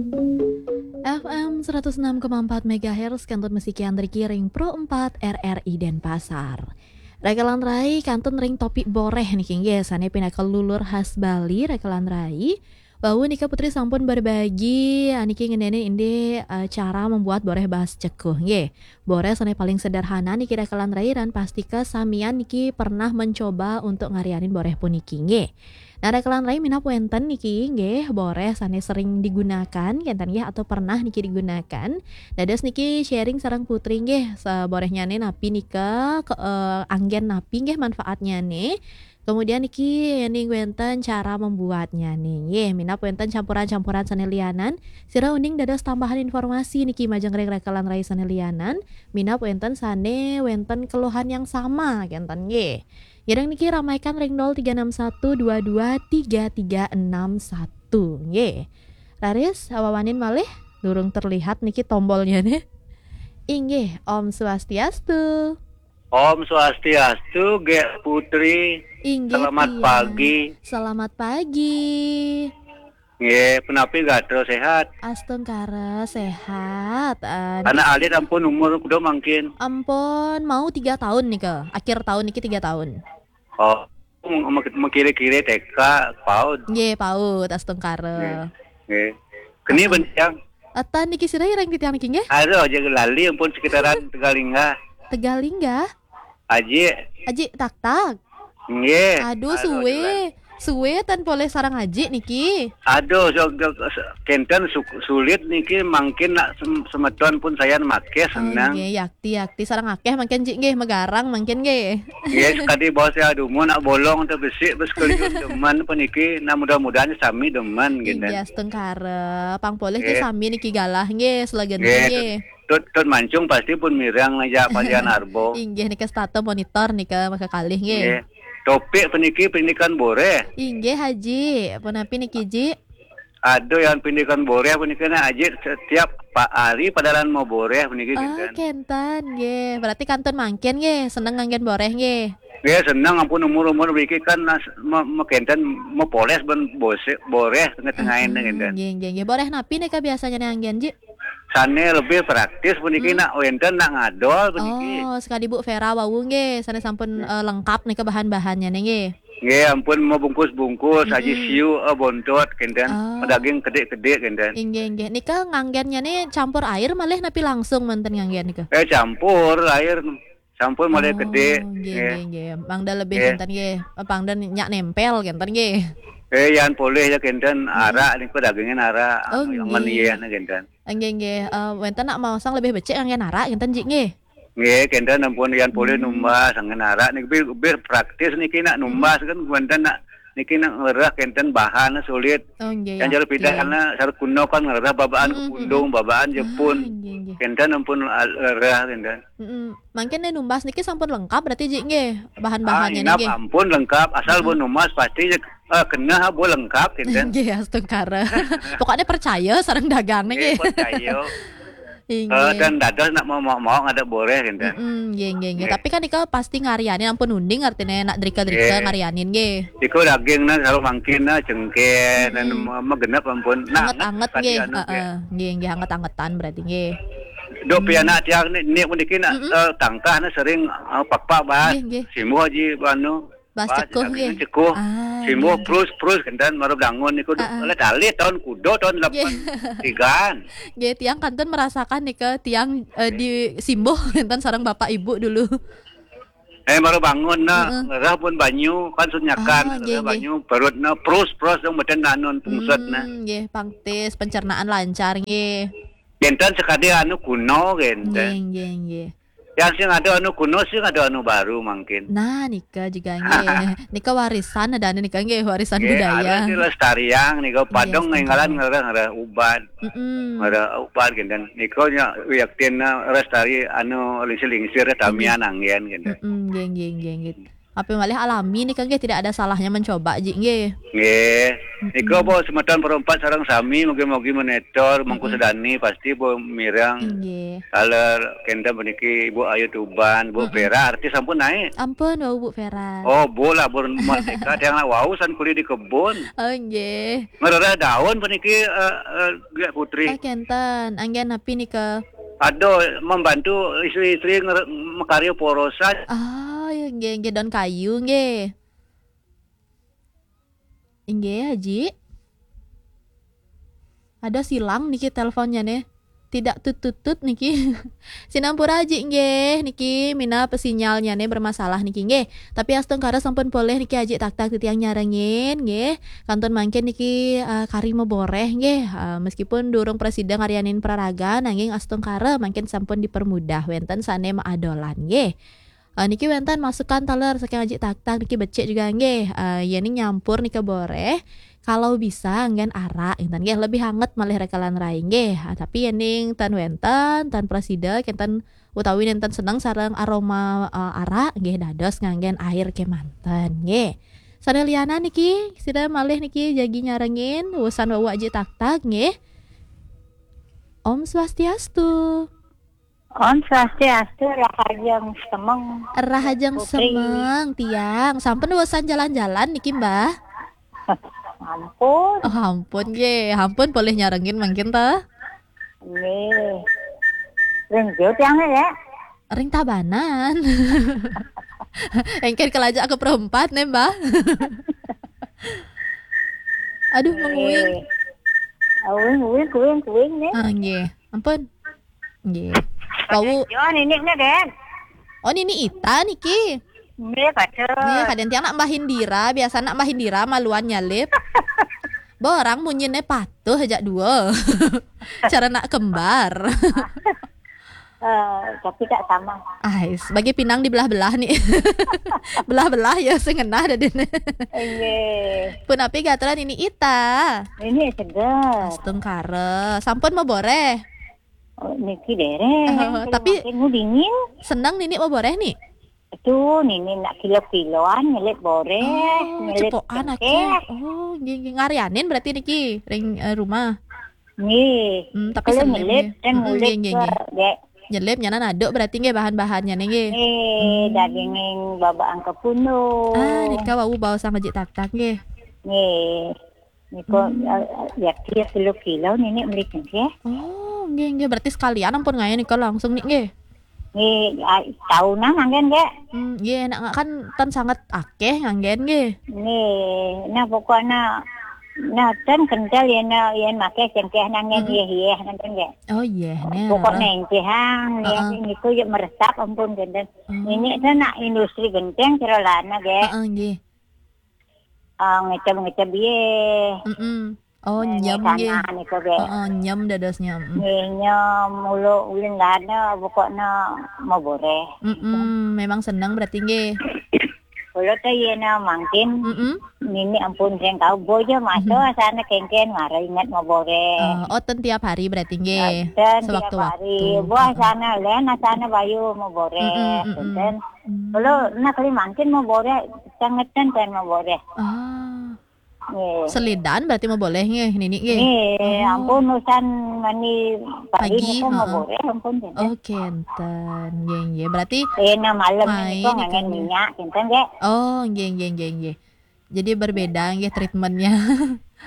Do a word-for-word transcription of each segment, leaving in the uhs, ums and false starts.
F M seratus enam koma empat megahertz, kantun masih kian ring Pro empat R R I Denpasar. Rakalan rai, kantun ring topik boreh niki nggih, sane pinaka lulur khas Bali, rakalan rai. Wau nika Putri sampun berbagi, ah, niki ngeninin indik, eh, cara membuat boreh bahas cekuh nggih. Boreh sane paling sederhana niki rakalan rai, ran pastika samian niki pernah mencoba untuk ngarianin boreh puniki nggih. Nah, rakalan rai, minab wenten niki nggih boreh sane sering digunakan, kenten nggih, atau pernah niki digunakan. Dados niki sharing sareng Putri nggih, saborehnyane napi nika, ke, eh, anggen napi nggih manfaatnyane. Kemudian niki yening wenten cara membuatnyane nggih. Minab wenten campuran-campuran sane lianan, sira uning dados tambahan informasi niki majeng ring rakalan rai sane lianan. Minab wenten sane wenten keluhan yang sama, kenten nggih. Ngiring niki ramaikan ring nol tiga enam satu dua dua tiga tiga enam satu nggih. Raris, awawanin malih, durung terlihat niki tombolnyane. Inggih, Om Swastiastu. Om Swastiastu, Gek Putri. Inggih, selamat pagi. Selamat pagi. Nggih, punapi gatra, sehat? Astungkara, sehat. Eh, anak alit ampun umur kuda mangkin? Ampun, mau tiga tahun nika. Akhir tahun niki tiga tahun. Oh, meng-, meng-, mengkira-kira T K, paud. Nggih, paud, astungkara. Nggih. Nggih. Keni bentiang? Atan niki sira ireng titiang niki nggih? Aduh, aja lali ampun sekitaran Tegalingga. Tegalingga? Aji. Aji tak-tak. Nggih. Aduh, aduh, suwe. Aduh. Suwe tan polih sareng Aji niki. Aduh, so, so, so, kenten su-, sulit niki mangkin nak sem-, semeton pun sayan makeh. Oh, senang. Nggih, yakti, yakti sareng akeh mangkin Ji nggih, megarang mangkin nggih. Nggih, sekadi bos ya dumun nak bolong te besik bes keliun demen puniki. Nah, mudah-mudahan sami demen. Inggih, kenten. Astungkara. Pang polih nggih, sami niki galah nggih, selegen nggih, nggih. Tut, tut mancung pasti pun mireng aja palian arbo. Inggih, nika setata monitor nika maka kalih nggih. Nggih. Topik puniki pendidikan boreh. Inggih, Haji. Punapi niki, Ji? Aduh, yang pendidikan boreh puniki nah, Haji, setiap pa-, hari padalan mau boreh puniki. Oh, kenten. Kenten nggih. Berarti kantun mangkin nggih, seneng nganggen boreh nggih. Nggih, seneng ampun umur-umur puniki kan nas-, me-, me-, kenten mepoles ben bose-, boreh tengah-tengah ini. Mm-mm, kenten. Nggih, nggih, nggih. Boreh napi nika biasanya nih anggen, Ji? Sane lebih praktis puniki. Hmm. Nak wenten nak ngadol puniki. Oh, sekadi Bu Vera wau nggih, sane sampun, nggih, eh, lengkap nika bahan-bahannya nih nggih. Nggih, ampun mau bungkus-bungkus, aji, mm-mm, siu, eh, bontot, kenten. Oh. Daging kedik-kedik, kenten. Inggih, inggih. Nika nganggennya nih campur air malih napi langsung manten nganggen nika? Eh, campur air. Sampun malih. Oh, kedik. Nggih, nggih, nggih, nggih. Mangda lebih, nggih, kenten nggih. Pangda nyak nempel kenten nggih. Eh, yan polih ya kenten, mm-mm, arak niku dagingin arak. Oh, anu, yang nggih, nggih, meniyeh nih kenten. Nggih, nggih. Eh, wenten nak maosang lebih becik nganggen arak kenten, Ji, nggih. Nggih, kenten ampun yan polih, hmm, numbas nganggen arak niki lebih, lebih praktis niki nak numbas, mm-mm, kan wenten nak niki nak ngerah kenten bahan sulit. Oh, nggih, yang ya, jero pidan, iya, na, sareng kuno kan ngerah babaan, mm-mm, kepundung, mm-mm, babaan jepun. Ah, nggih, nggih. Kenten ampun, ah, ngerah kenten. Mm-mm. Mangkin nih numbas niki sampun lengkap berarti, Ji, nggih, bahan-bahannya. Ah, inap nggih. Ampun lengkap, asal, mm-mm, pun numbas pasti, eh, kena bu lengkap, kenten. Nggih, astungkara. Pokoknya percaya sareng dagang nih, nggih, nggih. Percaya. Inggih. Eh, dan dados nak mau, mau, mau ngadep boreh, kenten. Mm-mm, nggih, nggih, nggih. Nggih. Tapi kan nika pasti ngarianin ampun uning artine nak drika-drika, nggih, ngarianin nggih. Iku daging nah, sareng mangkin nah, cengkeh, dan, mm-mm, me-, megenep ampun. Nah, anget-anget kadi nggih, anu, heeh. Nggih, nggih, anget-angetan berarti nggih. Dok, hmm, pianak tiang ni, ni puniki nak, mm-mm, eh, tangkah na sering, eh, pakpak bahas. Nggih, nggih. Simbuh ji anu, bahas bahas cekuh, daging nggih. Cekuh. Ah, simbuh, nggih, nggih. Prus, prus, kenten mara bangun niku. Ah, ah. Oleh dalih tahun kuda tahun, nggih, lapan tigaan. Nggih, tiang kantun merasakan nika tiang, eh, nggih, di simbuh kenten sareng bapak ibu dulu. Eh, mara bangun na, heeh, ngerah pun banyu, kan sunyakan, ah, ngerah, nggih, nggih, banyu, perut na, prus, prus, dong beten anun pungsut na. Hmm, nggih, pangtis, pencernaan lancar, nggih. Kenten sekadi anu kuno, kenten. Nggih, nggih, nggih. Yang sing ada anu kuno, sing ada anu baru mangkin. Nah, nika juga, nggih. Nika warisan ada anu nika, nggih, warisan, nggih, budaya. Harus dilestariang nika, nggih, padong setuju. Nginggalan ngerah, ngerah ubat. Mm-mm. Ngerah ubat, kenten. Nika nya yaktin na lestari anu lingsir-lingsir, tamian, nggih, anggen, kenten. Mm-mm, nggih, nggih, nggih, nggih. Tapi malih alami nika nggih, tidak ada salahnya mencoba ji nggih. Nggih. Mm-mm. Nika bo semeton perempat sareng sami mugi-mugi monitor, mengku sedani pasti bo mirang nggih. Taler kenten puniki Ibu Ayu Tuban, Bu Vera, artis sampun naik. Ampun, wau Bu Vera. Oh, Bu lah, Bu Merdeka, tiang nak wau san kuli di kebun. Oh, nggih. Ngerereh daun puniki, eh, eh, Gek Putri. Ah, kenten. Anggen napi nika? Aduh, membantu istri-istri nger-, mekarya porosan. Ah, ya, nggih, nggih, daun kayu, nggih. Inggih, Haji. Ada silang niki teleponnya nih. Tidak tutut-tutut niki. Sinampura Haji nggih, niki minab sinyalnya nih bermasalah niki nggih. Tapi astungkara sampun polih niki Haji Taktak titiang nyarengin nggih. Kantun mangkin niki, eh, kari maboreh nggih. Eh, meskipun durung prasida ngaryanin praraga nanging astungkara mangkin sampun dipermudah wenten sane maadolan nggih. Eh, niki wenten masukan taler saking Aji Taktak niki becik juga nggih. Eh, yening nyampur nika boreh. Kalau bisa anggen arak ngenten nggih, lebih anget malih rekelan rai nggih. Ah, tapi yening tan wenten, tan prasida kenten utawi nenten seneng sareng aroma, eh, arak nggih, dados nganggen air kemanten nggih. Sane lianan niki, sida malih niki jagi nyarengin, wusan wau Aji Taktak nggih. Om Swastiastu. Om Swastiastu, rahajeng semeng. Rahajeng Putri. Semeng, tiang. Sampun wusan jalan-jalan niki, Mbah? Ampun. Oh, ampun nggih. Ampun polih nyarengin mangkin ta? Nggih. Ring jo tiang ya? Ring Tabanan. Engken kelajak ke perempat nih, Mbah. Aduh, menguing. Nggih. Uing, uing, kuing, kuing nih. Ah, nggih. Ampun. Nggih. Wau. Yo, nini nih, Den. Oh, nini Ita niki. Nggih, pada. Nggih, kaden tiang nak Mbah Indira, biasa nak Mbah Indira maluan nyalip. Borang munyine patuh aja dua. Cara nak kembar. Eh, tapi tak sama. Ais, bagi pinang dibelah-belah nih. Belah-belah ya, sing ngenah dah dene. Nggih. Punapi gatra nini Ita? Ini seger. Astungkara. Sampun maboreh? Oh, niki dereng. Eh, tapi makin dingin. Seneng nini maboreh nih? Itu nini nak kilo-kiloan nyelit boreh, oh, nyelit cepokan cengkeh. Akeh. Oh, nggih, nggih. Ngaryanin berarti niki ring, eh, rumah. Nggih. Hmm, tapi kalau seneng nyelit nggih. Kan mm-mm, ngulik nggih, nggih, ke, nggih. Dek. Nyelip nyanan aduk berarti nggih bahan-bahannya nih nggih. Nggih, hmm. Daging babaan kepunung. Ah, nika wau baos sama Jik Taktak nggih. Nggih. Niko, hmm. Eh, ya, kilo-kilo nini meli cengkeh. Oh, nggih, nggih. Berarti sekalian ampun ngae nika langsung nih nggih. Nggih, ah, tahunan anggen nggih. Hmm, nggih, nak kan tan sangat akeh nganggen nggih. Nggih, nah pokoknya nah tan kental ya na yen make cengkeh nanggen mm-mm. Yeh, yeh nanggen nggih. Oh, yeh, nih. Pokoknya engkehang ya, heeh. Niku ya meresap ampun genten. Oh. Nini tan nak industri genteng cerolana nggih. Heeh, nggih. Ah, ngeceb-ngeceb ye. Mm-mm. Oh, nyem nggih. Tanah niku nggih. Heeh, nyem dadosnya. Mm. Nggih, nyem, ulo ulin lana pokoknya mau boreh. Mm-mm, memang seneng berarti nggih. Ulo teh yena mangkin. Mm-mm. Nini ampun sing kau bojo maso mm-hmm. Sana kengken mara ingat mau boreh. Oh, oh, ten tiap hari berarti nggih. Ten tiap hari. Sewaktu-waktu. Buah sana len sana bayu mau boreh. Mm-mm, mm-mm. Ten. Mm. Ulo nak kali mangkin mau boreh, sangetan kan mau boreh. Ah. Nggih. Selidan berarti mau boleh nggih, Nini nggih? Nggih, oh. Ampun usan mani pagi pagi, niku mau heeh. Boleh ampun kenten. Oh, kenten. Nggih, nggih. Berarti eh, nah malam main niku ngangen niku. Minyak kenten nggih. Oh, nggih, nggih, nggih, nggih. Jadi berbeda nggih treatmentnya.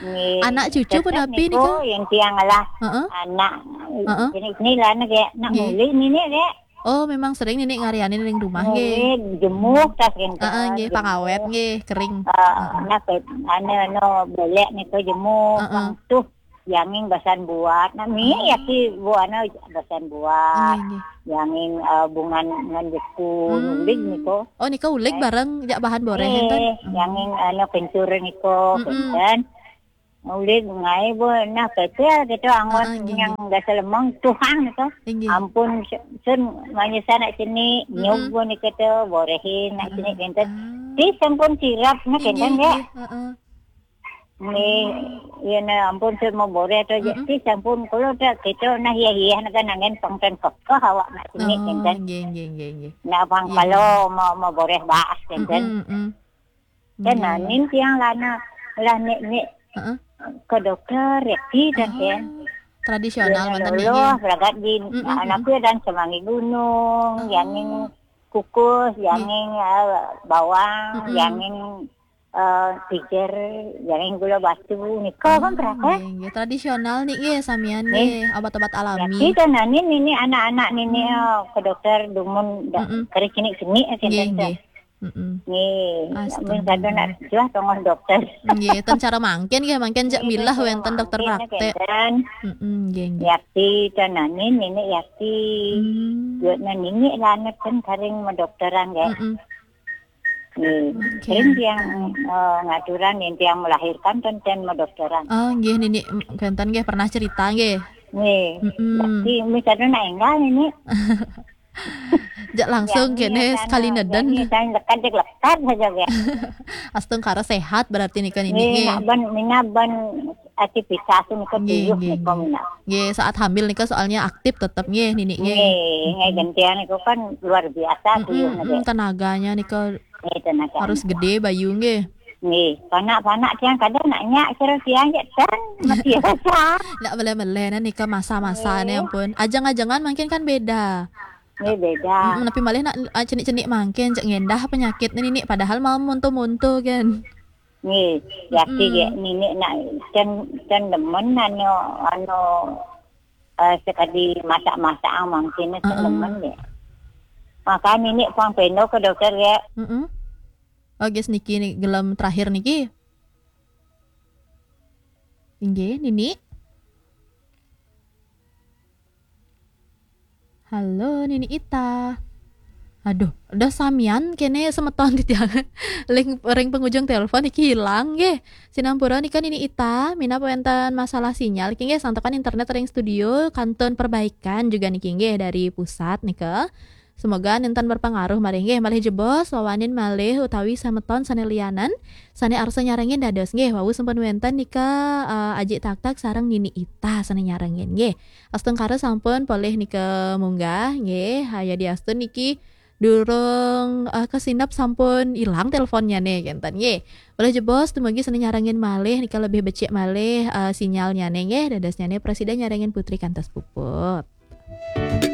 Nggih. Anak cucu tetep punapi niku niku? Yang tiang lah. Heeh. Anak heeh. Jenis ni lah nggih, nak nggih. Mulih nini nggih. Oh, memang sering nini ngarianin ring rumah nggih. Nggih, jemuk tas kenten. Heeh, nggih, jemuk. Pangawet nggih, kering. Eh, heeh. Nah, pe-, anu, anu, belek niku jemuk, heeh. Pang tuh, yanging basan buat. Nah, mi ah. Yaki buana basan buat. Nggih, nggih. Yanging, eh, bungan ngan jeku, hmm. Ulig niku. Oh, nika ulig eh. Bareng jak bahan boreh nggih, enten? Yanging, anu, kencur niku, mm-mm. Kenten. Ulit ngae bu, nah kecil gitu anggot ah, ah, nggih, yang nggih. Biasa lemeng tuhang gitu. Nggih. Ampun sun manyesa nak sini, mm-mm. Nyugun gitu, borehin nak sini kenten. Ah. Di sampun sirap nak kenten nggih, ya. Nggih, heeh. Nggih, ya nah ampun, saya mau boreh tu je. Mm-mm. Ti sampun kulo tu kita nah ya ya nak nangen pangten kekeh awak nak sini. Oh, kinten. Nggih, nggih, nggih, nggih. Nak bang, iya, kalau mau, mau boreh bahas kinten. Mm-mm, mm-mm. Kan nggih. Nanin tiang lana lah nek nek, heeh, ke dokter ya ti kan. Ah, tradisional manten nggih. Loh, belagat di, mm-mm, anakku dan semangi gunung, oh, jangin kukus, nggih, jangin, eh, bawang, mm-mm, jangin eh, pijer, jangin gula batu, nika kan, hmm, berapa? Nggih, nggih. Tradisional nih, nggih, samian nggih, obat-obat alami. Tapi kan nanin ini anak-anak nini, hmm, oh, ke dokter dumun da-, mm-mm, keri kini kini aja. Nggih, nggih. Mm-mm. Nggih, astaga. Mun kada nak juah tongos dokter. Nggih, ten cara mangkin nggih, mangkin jak milah wenten dokter praktek. Nggih, nggih. Mm-mm, nggih, nggih. Yakti kan nanin ini yakti. Hmm. Buat nanin ini lah anak kan kering mau dokteran nggih. Mm-mm. Nggih. Oke. Sering tiang, eh, ngaturan yang tiang melahirkan kan tiang mau dokteran. Oh, nggih, nini, m-, kenten nggih pernah cerita nggih. Nggih. Mm-mm. Tapi misalnya nak enggak ini. Jak langsung kene sekali neden. Misalnya lekat, lekat saja ya. Astungkara sehat berarti nika nini nggih. Nggih, nak ben, mina ben aktivitas nika nggih, tuyuh nggih, nika nggih. Mina. Nggih, saat hamil nika soalnya aktif tetap nggih nini nggih. Nggih, nggih, gantian niku kan luar biasa tuyuh nika. Mm-mm, mm, tenaganya nika. Nggih, tenaga. Harus gede bayu nggih. Nggih, panak-panak tiang kada nak nyak kira tiang je kan mati rasa. Ndak meleh-meleh nah nika masa-masa nih, nggih, ampun. Ajang-ajangan mungkin kan beda. Nggih, beda. Mm-mm, tapi malih nak, ah, cenik-cenik mangkin cek ngendah penyakit nih nini padahal mau monto-monto kan. Nggih, yakti mm-mm, ya nini nak ten, ten demen anu, anu, eh, sekali masak-masak mangkin ten, heeh, demen ya. Maka nini pang peno ke dokter ya. Mm-mm. Oh, guys, niki nih, gelem terakhir niki. Inggih, Nini. Halo, Nini Ita. Aduh, udah samian kene semeton titiang. Ring, ring penghujung telepon iki hilang nggih. Sinampura nika Nini Ita, minab wenten masalah sinyal iki nggih, santukan internet ring studio kantun perbaikan juga niki nggih dari pusat nika. Semoga nenten berpengaruh malih nggih, malih jebos, wawanin malih utawi semeton sane lianan, sane arsa nyarengin dados nggih, wau sampun wenten nika, eh, Ajik Taktak sareng Nini Ita sane nyarengin nggih. Astungkara sampun polih nika munggah nggih, haya diastun niki durung, eh, kesinep sampun ilang teleponnya nih, kenten nggih. Malih jebos, dumugi sane nyarengin malih nika lebih becik malih, eh, sinyalnya nih nggih, dados nyane prasida nyarengin putri kantos puput.